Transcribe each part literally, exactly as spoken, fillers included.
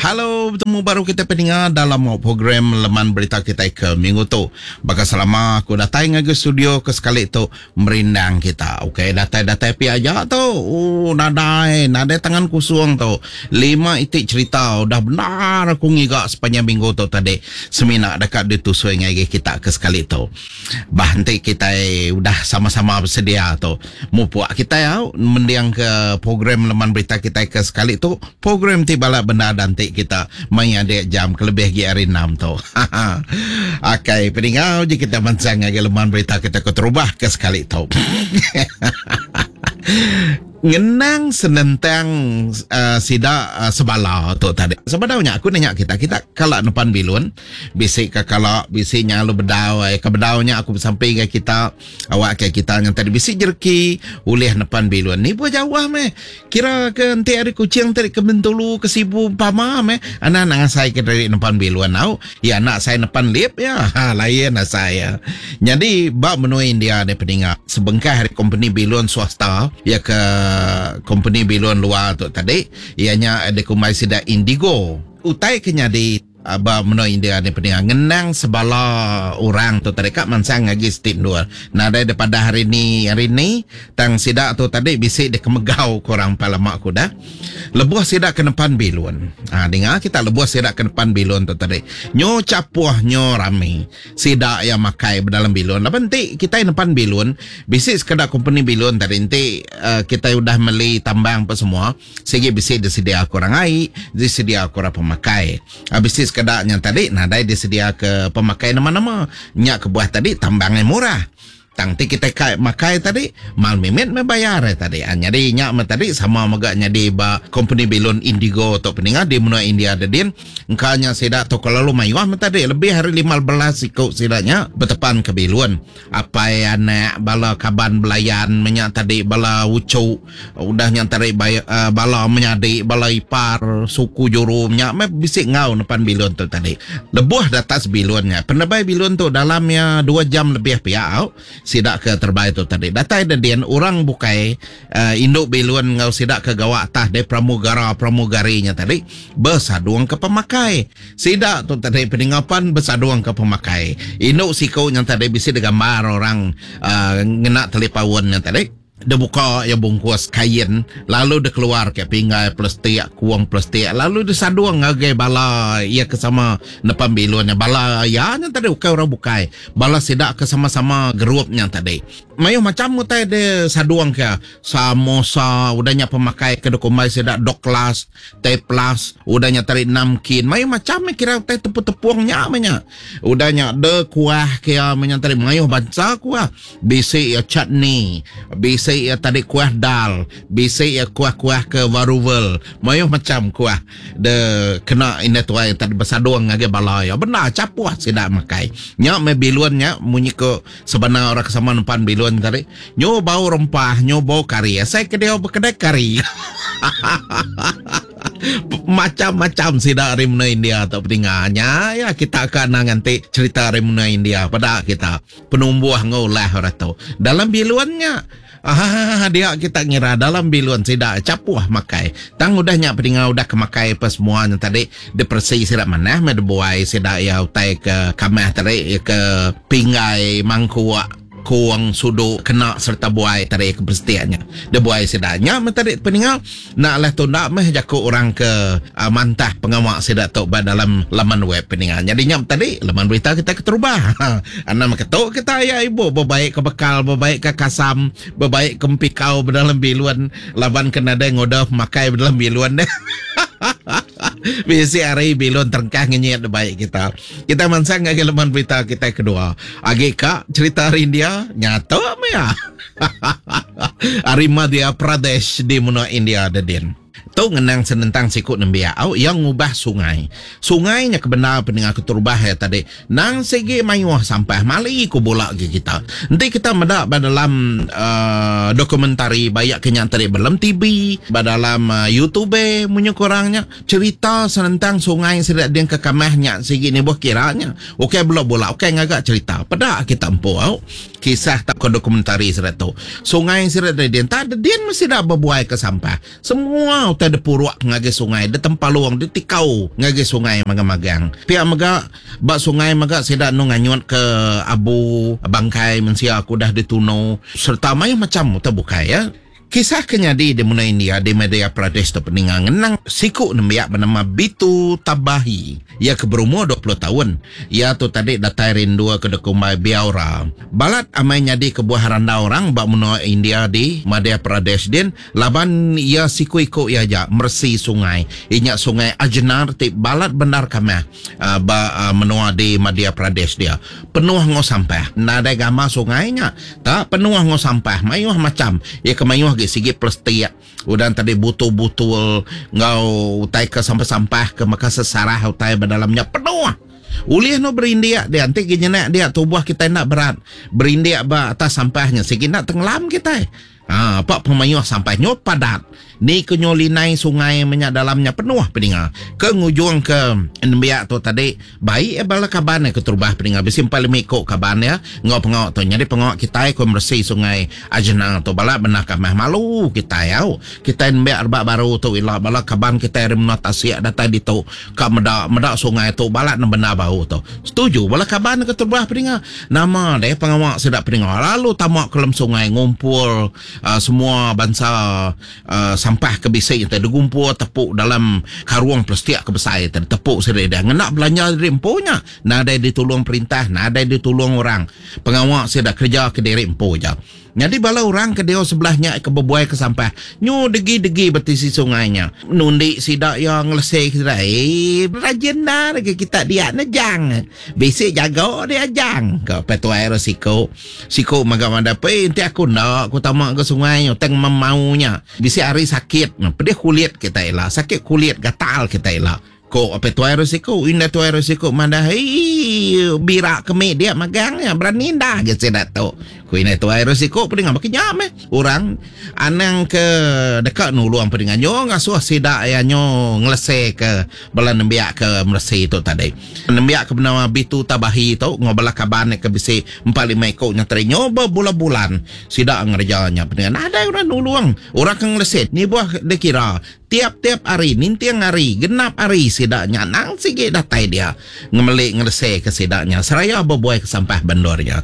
Halo, betemu baru kita peninga dalam program Leman Berita kita ke minggu tu. Baka selama aku datai ngagai studio ke sekali tu merindang kita. Okey, datai-datai pi aja tu. Oh, nadai, nadai tangan kosong tu. Lima itik cerita udah benar aku ngiga sepanjang minggu tu tadi. Semina dekat ditusui ngagai kita ke sekali tu. Bah enti kita udah sama-sama bersedia tu. Mupuk kita au mendiang ke program Leman Berita kita ke sekali tu. Program ti balak benda dan ti kita main adik jam kelebih gi hari enam tu. Okey, peninggal je kita mansang ngagai Leman Berita kita ke terubah ke sekali tu. Ngenang senentang uh, sida uh, sebala tu tadi. Sebenarnya aku nanya kita, kita kalak nepan bilun, bisik ke kalak, bisik nyalu bedau, eh, ke bedaunya aku bersampai ke kita, awak ke kita yang tadi bisik jerki, ulih nepan bilun. Ni pun jauh meh. Kira ke enti hari Kuching tadi ke Bintulu, ke Sibu pama meh. Anak nak ngasai ke dari nepan bilun au. Ya anak saya nepan lip ya. Ha, lain lah saya. Jadi bab menua India ni peningat, sebengkah hari company bilun swasta ya ke company bilun luar tu tadi ianya ada kumai sida Indigo. Utai kenya di aba menua India ni peningat ngenang sebala orang tu tadi kak mansang lagi stik dua. Nadai daripada hari ni hari ni tang sida tu tadi bisik dia kemegau korang palamak ku dah. Lebuh sida ke depan bilun. Ha, dengar kita lebuh sida ke depan bilun tu tadi. Nyo capuh nyo rami. Sida yang makai dalam bilun. Lapan ti kita depan bilun bisik sekadar company bilun tadi enti uh, kita udah meli tambang apa semua segi bisik disedia korang air, disedia korang pemakai. Habis sekadar yang tadi nadai disedia ke pemakai nama-nama. Nyak kebuah tadi tambangnya murah. Tang ti kita kai makai tadi mal mimit membayar eh, tadi. Ah, jadi nyak me tadi sama megak nyadi ba company bilun Indigo tok peningat di menua India dedin. Engkanya sida tok lalu mayuah me tadi lebih hari lima belas ikut sidanya bertepan ke bilun. Apai anak bala kaban belayan menyak tadi bala ucu udah nyak tadi bay, uh, bala menyadi bala ipar suku juru menyak me bisik ngau depan bilun tu tadi. Lebuh datas bilunnya. Penebai bilun tu dalamnya dua jam lebih pihak au. Sidak ke terbaik tu tadi. Datai dedian orang bukai uh, induk bilun ngau sidak ke gawak tah de pramugara pramugarinya tadi bersaduang ke pemakai. Sidak tu tadi peningapan bersaduang ke pemakai. Induk siko yang tadi bisi digambar orang uh, ngena talipaun yang tadi. Dia buka ya bungkus kain lalu dia keluar ke pinggai plastik kuang plastik lalu dia saduang ngagai bala ia ke sama depan bilunnya bala ya yang tadi bukan orang bukai bala sidak ke sama-sama gerupnya tadi mayu macam utai dia saduang ke samosa udahnya pemakai ke dokumai sidak doklas teplas udahnya tadi namkin mayu macam kira utai tepung-tepungnya menya udahnya de kuah ke menya tadi mayu bangsa kuah bisi ya chutney bisi ya tadi kuah dal, bisik ya kuah-kuah ke varuval, mayuh macam kuah de kena ini tuai tadi bersaduang ngagai bala ya. Benar capuh sidak makai. Nyak me bilun nya munyi ke sebenar orang kesama nempan bilun tadi. Nyo bau rempah, nyo bau kari. Saya ke dia berkedai kari. Macam-macam sidak dari menua India atau peninggalnya ya kita akan nanti cerita dari menua India pada kita penumbuh ngolah orang tu dalam biluannya. Ah, dia kita ngira dalam bilun sidak capuh makai. Tang udah nyak peninggal udah kemakai apa semua yang tadi depresi sidak mana me buai sidak ya utai ke kamah tadi ke pinggai mangkuak kuang suduk kena serta buai tadi ke persetianya. Dia buai sidaknya me tadi peninggal nak lah tundak meh jaku orang ke uh, mantah pengawak sidak tok ba dalam laman web peninggal. Jadi nyam tadi laman berita kita keterubah. Anam ketuk kita ya ibu berbaik ke bekal, berbaik ke kasam, berbaik ke empikau berdalam biluan laban kena ada ngodah makai berdalam biluan deh. Bisi hari bilun terengkah ngenyet baik kita. Kita mansang ngagi leman berita kita kedua. Agi kak cerita hari India nyata ya. Hari Madhya Pradesh di menua India dedin. Tu ngenang senentang sikut nembiak au yang ngubah sungai. Sungainya kebenar pendengar keterubah ya tadi. Nang segi mayuh sampah mali ku bolak ke kita. Nanti kita medak dalam uh, dokumentari banyak kenyang tadi dalam T V, dalam uh, YouTube munyo korangnya cerita senentang sungai sedak dia ke kamahnya segi ni buah kiranya. Okey belok bola, okey ngagak cerita. Pedak kita empu au. Kisah tak ke dokumentari sedak tu. Sungai sedak dia tak ada dia mesti dah berbuai ke sampah. Semua utai depuruk ngagai sungai, ditempalung, ditikau ngagai sungai magang-magang. Pia mega ba sungai mega sida nu nganyut ke abu bangkai mensia aku dah ditunu serta mayuh macam utai bukai ya. Kisah ke nyadi di menua India di Madhya Pradesh tu peninga ngenang siku nembiak bernama Bitu Tabahi. Ia ke berumur dua puluh tahun. Ia tu tadi datai rindu ke dekumbai Biaura. Balat amai nyadi ke buah randau orang ba menua India di Madhya Pradesh din laban ia siku-iku ia aja meresi sungai. Inya sungai Ajnar ti balat bendar kamah uh, ba uh, menua di Madhya Pradesh dia. Penuh ngau sampah. Nadai gambar sungainya. Tak penuh ngau sampah. Mayuh macam. Ia ke mayuh gi sigi plastik. Udah tadi butul-butul ngau utai ke sampah-sampah ke maka sesarah utai berdalamnya penuh. Ulih no berindik dia nanti gini dia tubuh kita nak berat. Berindik ba atas sampahnya sigi nak tenggelam kita. Ha, pak pemayuh sampah nyo padat. Ni ke nyo linai sungai menyak dalamnya penuh peninga. Ke ngujung ke nembiak tu tadi baik eh bala kaban ke terubah peninga bisi empat lima ikok kaban ya ngau pengau tu. Jadi pengau kita ke meresi sungai Ajna tu bala benah kamah malu kita yau. Kita nembiak rebak baru tu ila bala kaban kita ari menua tasik datai ditu ka meda meda sungai tu bala benda bau tu. Setuju bala kaban ke terubah peninga. Nama deh pengawak sedap peninga lalu tamak ke dalam sungai ngumpul Uh, semua bangsa uh, sampah ke bisik yang digumpul tepuk dalam karung plastik ke besar tadi tepuk seri dia ngenak belanja diri empunya nadai ditolong perintah nadai ditolong orang pengawak saya dah kerja ke diri empu je. Jadi bala orang ke dia sebelahnya ke berbuai ke sampah nyu degi-degi bertisi sungainya nundi sidak yang ngelesek sida eh rajin dah ke kita dia nejang bisik jago dia jang ke petuai risiko siko maga mada pe enti aku ndak aku tamak ke sungai teng memaunya bisik hari sakit pedih kulit kita ila sakit kulit gatal kita ila ko apa tuai risiko indah tuai risiko mana hei birak kemi dia magangnya berani dah ke saya tu ku indah tuai risiko pedingan makin nyam eh orang anang ke dekat nuluang pedingan nyo ngasuh sidak ya nyo ngelese ke bala nembiak ke meresi tu tadi nembiak ke bernama Bitu Tabahi tu ngobala kaban ke bisi empat lima ekor nya teri nyo berbulan-bulan sidak ngerjanya pedingan ada orang nuluang orang ke ngelese ni buah dikira tiap-tiap hari, nintiang hari, genap hari sidaknya nang sikit datai dia ngemelik ngelese ke sidaknya seraya berbuai ke sampah bandornya.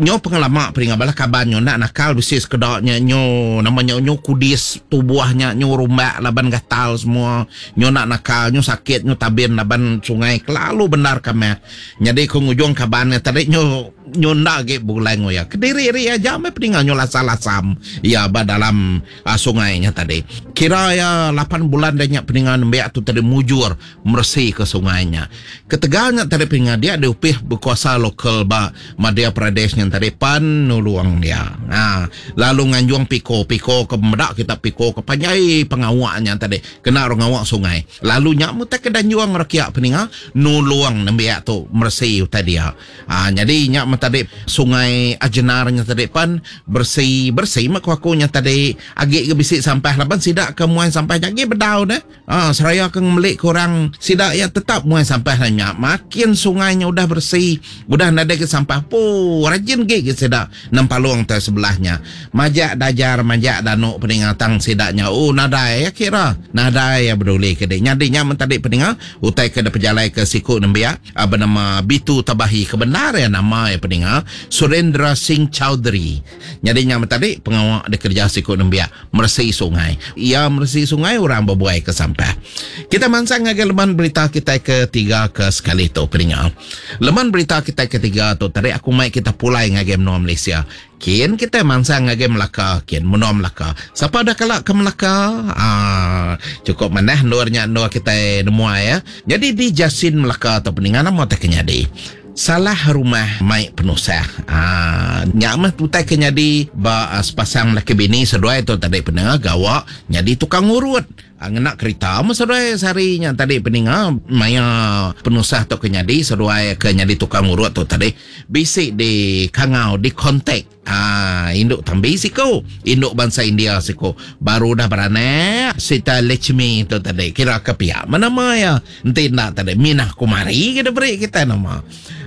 Nyo pengelama peringat bala kaban nyo nak nakal bisi sekedaknya nyo namanya nyo kudis tubuhnya nyo rumbak laban gatal semua nyo nak nakal nyo sakit nyo tabin laban sungai kelalu benar kami. Jadi ke ngujung kabannya tadi nyo nyo ndak ge bulai ngoya kediri ri aja me peringat nyo lasam-lasam ya ba dalam uh, sungainya tadi. Kira ya lapan bulan dah nyak peningan nembiak tu tadi mujur meresi ke sungainya. Ketegalnya tadi peningan dia diupih berkuasa lokal ba Madhya Pradesh yang tadi pan nuluang dia. Ha, lalu nganjuang piko piko ke medak kita piko ke panjai pengawaknya tadi kena orang awak sungai. Lalu nyak mu tak kedanjuang rakyat peningan nuluang nembiak tu meresi tadi dia. Ha, jadi nyak mu tadi sungai Ajnarnya tadi pan bersih bersih mak aku nya tadi agik ke bisik sampah laban sidak ke muai sampah lagi bedau dah. Ah, seraya ke ngemelik korang sidak ya tetap muai sampah nanya. Makin sungainya udah bersih, udah nadai ke sampah pu rajin ge ke sidak nempalung te sebelahnya. Majak dajar majak danuk peningatang sidaknya. Oh nadai ya kira. Nadai ya peduli ke dia. Nyadinya mentadi peningat utai ke pejalai ke siku nembiak bernama Bitu Tabahi kebenar ya nama ya peningat Surendra Singh Chowdhury. Nyadinya mentadi pengawak dikerja siku nembiak meresi sungai. Ia meresi sungai orang berbuai ke sampah. Kita mansang ngagai leman berita kita ketiga ke sekali tu peningat. Leman berita kita ketiga tu tadi aku mai kita pulai ngagai menua Malaysia. Kian kita mansang ngagai Melaka, kian menua Melaka. Siapa dah kalak ke Melaka? Ah, cukup manah nurnya nur kita nemua ya. Jadi di Jasin Melaka tu peningat nama tak kenyadi. Salah rumah mai penusah. Ah, nyak mah tutai kenyadi ba sepasang laki bini seduai tu tadi pendengar gawak nyadi tukang urut. Ngenak kereta mah seduai seharinya tadi pendengar maya penusah tu kenyadi seduai ke nyadi tukang urut tu tadi bisik di kangau di kontak ah induk tambi siko induk bangsa India siko baru dah beranak Sita Lechmi tu tadi kira ke pihak mana ya enti nak tadi Minah Kumari kita beri kita nama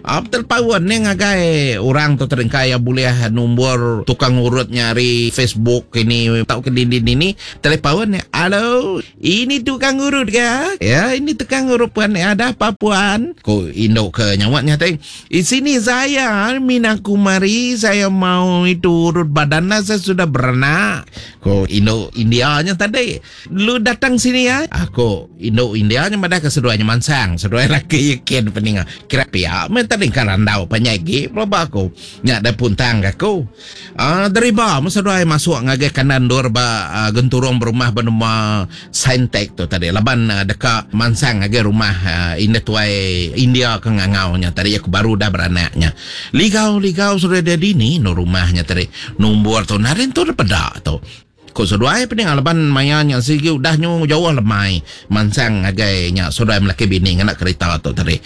Abdul Pawan ni ngagai orang tu teringkai yang boleh nombor tukang urut nyari Facebook ini tau ke dinding ini telepawan ni halo Ini tukang urut ke? Ya, ini tukang urut puan. Ada apa puan? Ko induk ke nyawatnya tadi. Di sini saya Mina Kumari, saya mau itu urut badan lah, saya sudah beranak. Ko induk Indianya tadi. Lu datang sini ya. Aku induk Indianya madah ke seduanya mansang, seduai laki yakin peninga. Kira pia men tadi kan randau penyagi pelaba aku. Nyak ada puntang aku. Ah deriba masa seduai masuk ngagai kanan dor ba uh, genturung berumah bernama Saintek tu tadi. Laban uh, dekat mansang ngagai rumah uh, indah tuai India ke ngangaunya tadi aku baru dah beranaknya. Ligau-ligau sudah ada dini no rumahnya tadi. Nombor tu narin tu pedak tu. Ko seduai pening laban mayanya sigi udah nyu jauh lemai mansang ngagai nya seduai melaki bini ngena kereta tu tadi.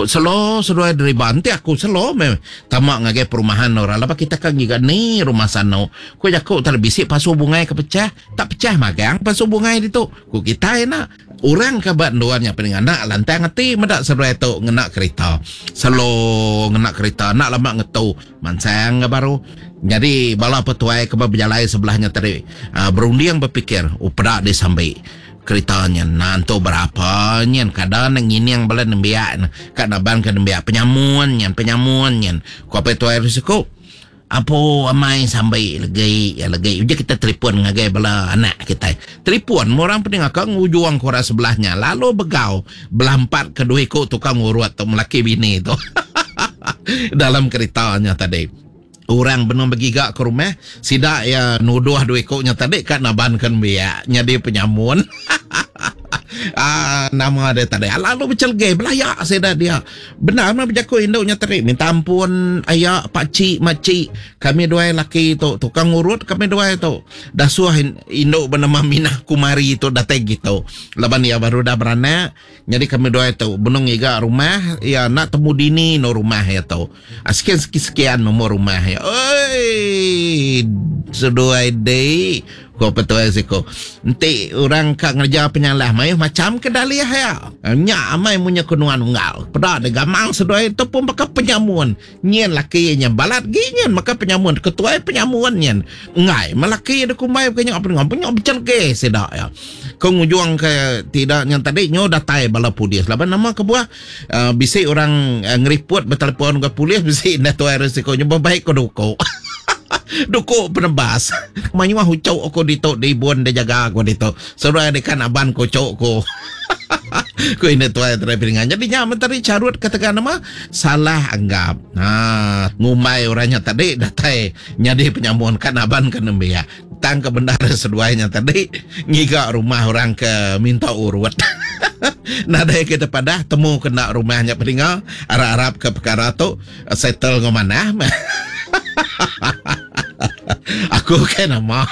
Selo seduai dari banti aku selo me tamak ngagai perumahan orang laban kita kan giga ni rumah sano. Ko jaku tadi bisik pasu bungai ke pecah, tak pecah magang pasu bungai ditu. Ko kita nak orang ke bat duannya pening anak lantang hati medak seduai tu ngena kereta. Selo ngena kereta nak lama ngetu mansang ke baru. Jadi bala petuai ke berjalai sebelahnya tadi uh, berunding berfikir oh pedak di sambil keretanya nanto berapa nyen kadang ngining bala nembiak kat naban ke nembiak penyamun nyen penyamun nyen ko petuai risiko apa amai sampai legi ya legi uji kita telefon ngagai bala anak kita telefon orang pening akang ujuang kora sebelahnya lalu begau belampat ke dua ikut tukang urut tu melaki bini tu dalam keretanya tadi. Orang benar bergigak ke rumah sidak ya nuduh dua ikutnya tadi kat nabankan biak nyadi penyamun. Ah, nama dia tadi lalu bercelgai belayak sidak dia benar mah berjaku induknya tadi minta ampun ayak pak cik makcik kami dua laki tu tukang urut kami dua tu dah suah induk bernama Minah Kumari tu datang gitu laban dia baru dah beranak jadi kami dua tu benung iga rumah ya nak temu dini no rumah ya tu sekian sekian nomor rumah ya oi seduai dei ko petuai siko enti orang ka ngerja penyalah mai macam ke daliah ya nya amai munya kunuan unggal peda de gamang seduai tu pun maka penyamun nyen laki nya balat gi nyen maka penyamun ketuai penyamun nyen ngai melaki de kumai kenya apa ngam punya bercelge sedak ya ko ngujuang ke tidak nyen tadi nyo datai bala polis laban nama kebuah uh, bisi orang uh, ngeriput bertelefon ke polis bisi dah tuai risiko nya baik ko duko. Duko penebas. Manyuah hucok aku ditok di ibun dia jaga aku ditok. Seruai dekan aban kocok ko. Ku ini tuai terai piringan. Jadi nya menteri carut katakan nama salah anggap. Ha, ngumai orangnya tadi datai nyadi penyamun kan aban ke nembiak. Tang ke bendara seduainya tadi ngiga rumah orang ke minta urut. Nadai kita padah temu kena rumahnya peninga arab-arab ke perkara tu settle ngomanah. Aku kan nama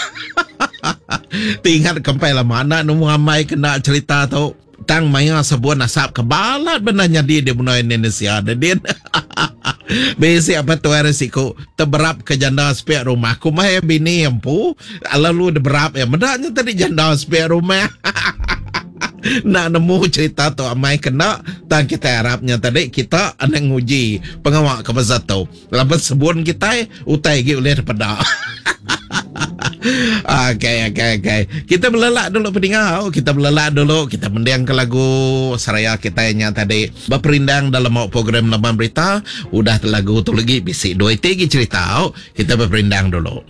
tinggal kempai lama anak nemu amai kena cerita tu tang maya sebuah nasab kebalat benarnya dia di benua Indonesia ada dia. Besi apa tu risiko terberap ke janda sepiak rumah aku mah bini empu lalu berap ya mendaknya tadi janda sepiak rumah. Nak nemu cerita tu amai kena tang kita harapnya tadi kita anak nguji pengawak ke pasal tu laban sebun kita utai gi oleh daripada. Okey okey okey kita berlelak dulu pendengar, kita berlelak dulu, kita mendiang ke lagu seraya kita nya tadi berperindang dalam program Laman Berita udah lagu tu lagi bisik dua tiga cerita, kita berperindang dulu.